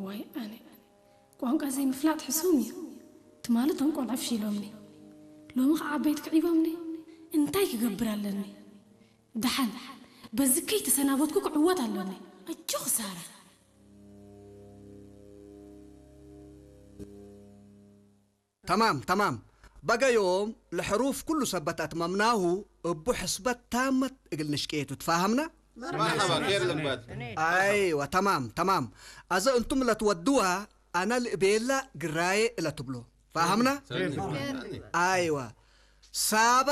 ዋይ ኣነ፣ ቋንቋ ዘይምፍላጥ ሕሱም እዩ። ትማሊ እቶም ቆልዑ ፍሺሎምኒ፣ ሎሚ ከዓ ዓበይቲ ክዒቦምኒ። እንታይ ክገብር ኣለኒ? ደሓን በዚ ከይተሰናበትኩ ክዕወት ኣለኒ። ኣጆኺ ሳራ። ተማም ተማም። በገዮም ለሕሩፍ ኩሉ ሰበት ኣትመምናሁ እቡ ሕስበት ታመት እግል ንሽቅየቱ ትፋሃምና። مرحبا، خير لمبات. ኣይዋ ተማም ተማም። ኣዘ እንቱም ለትወድዋ ኣና ልእቤላ ግራየ እለትብሎ ፋሃምና። ኣይዋ ሳባ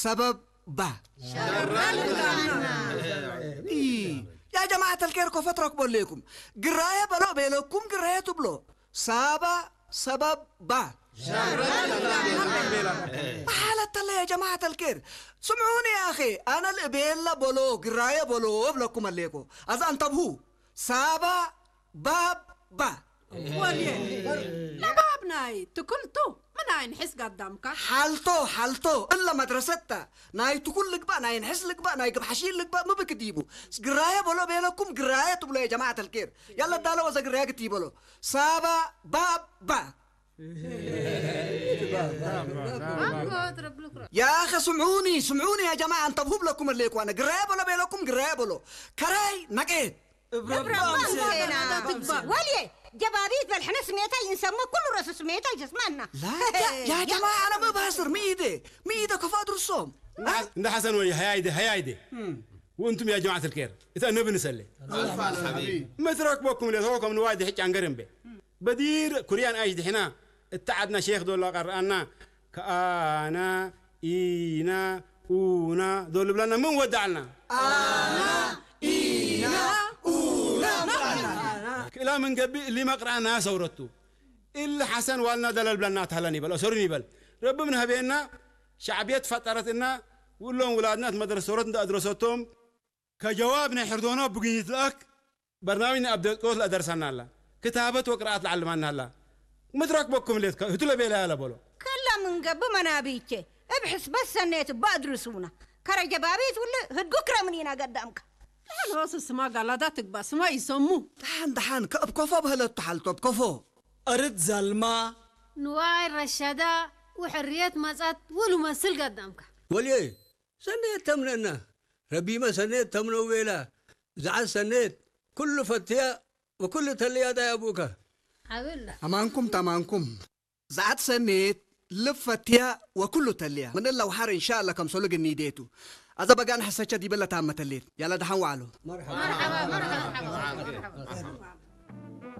ሰበብ ባ ያ ጀማዓት ኣልኬር ኮፈት ረክቦ ሌኩም። ግራየ በሎ ቤለኩም ግራየ ትብሎ ሳባ ሰበብ ባ ሓለተለ ያ ጀማዓት ኣልኬር ስምዑኒ ያኸ ኣነ ልእቤላ በሎ ግራየ በሎ እብለኩም ኣሌኮ ኣዛ እንተብሁ ሳባ ባብ ባ ወልየ ለባብ ናይ ትክልቱ ምን ኣይንሕስ ጋዳምካ ሓልቶ ሓልቶ እለ መድረሰታ ናይ ትኩል ልግባእ ናይ ንሕስ ልግባእ ናይ ግብሓሺ ልግባእ ምብክ ዲቡ ግራየ በሎ ቤለኩም ግራየ ትብሎ የጀማዓት ኣልኬር ያለ ዳለ ወዘ ግራየ ግት ይበሎ ሳባ ባባ ያኸ ስምዑኒ ስምዑኒ ያ ጀማዓ እንተብሁብ ለኩም ኣለይኩ ኣነ ግራየ በሎ ቤለኩም ግራየ በሎ ከራይ ነቄት ወልየ ጀባቢት በልሕነ ስሜታይ እንሰሞ ኩሉ ረሱ ስሜታይ ጀስማና ያ ጀማዓ ኣነ ምባስር ምኢደ ምኢደ ከፋ ድርሶም እንደ ሐሰን ወይ ሀያይደ ሀያይደ وانتم يا جماعة الخير إذا نبي نسلي مترك بكم اللي هو كم نواجه حج عن قرن به بدير كريان ايش دحنا اتعدنا شيخ دولا قرأنا كأنا إينا أونا دول بلنا من ودعنا أنا إينا أونا كلا من قبل اللي ما قرأنا سورته اللي حسن والنا دلال بلنا تهلني بل أسرني بل رب من هبينا شعبية فطرتنا ولهم ولادنا مدرسة سورة أدرستهم ከጀዋብ ናይ ሕርዶና ብግኝት ለኣክ በርናሚጅ ናይ ኣብ ደቂቆት ለኣደርሳና ኣላ። ክታበት ወቅርኣት ለዓልማና ኣላ። ምትረክበኩም ሌት ህቱ ለቤላ ያለ በሎ። ከላ ምን ገብ መናብይቼ እብ ሕስበት ሰኔት እባ ኣድርሱና። ከረ ጀባቢት ውል ህድጉ ክረምን ኢና ገዳምካ። ዳን ሆስ ስማ ጋላዳ ትግባ ስማ ይሰሙ። ደሓን ደሓን ከእብ ኮፎ በህለቱ ሓልቶ እብ ኮፎ። ኣርድ ዘልማ። ንዋይ ረሸዳ ወሕርየት መጻት ወሉ መስል ገዳምካ። ወልየ ሰኔት ተምነና ረቢመ ሰኔት ተምነው ቤላ ዝዓት ሰኔት ኩሉ ፈትያ ወኩሉ ተልያ ዳይ ኣቡከ ኣማንኩም ተማንኩም ዝዓት ሰኔት ልብ ፈትያ ወኩሉ ተልያ ምን እላ ውሓር እንሻ ኣላ ከም ሶልግ ኒዴቱ ኣዘ በጋን ሕሰቸ ዲበለ ታመተሌት ያለ ደሓን ዋዕሎ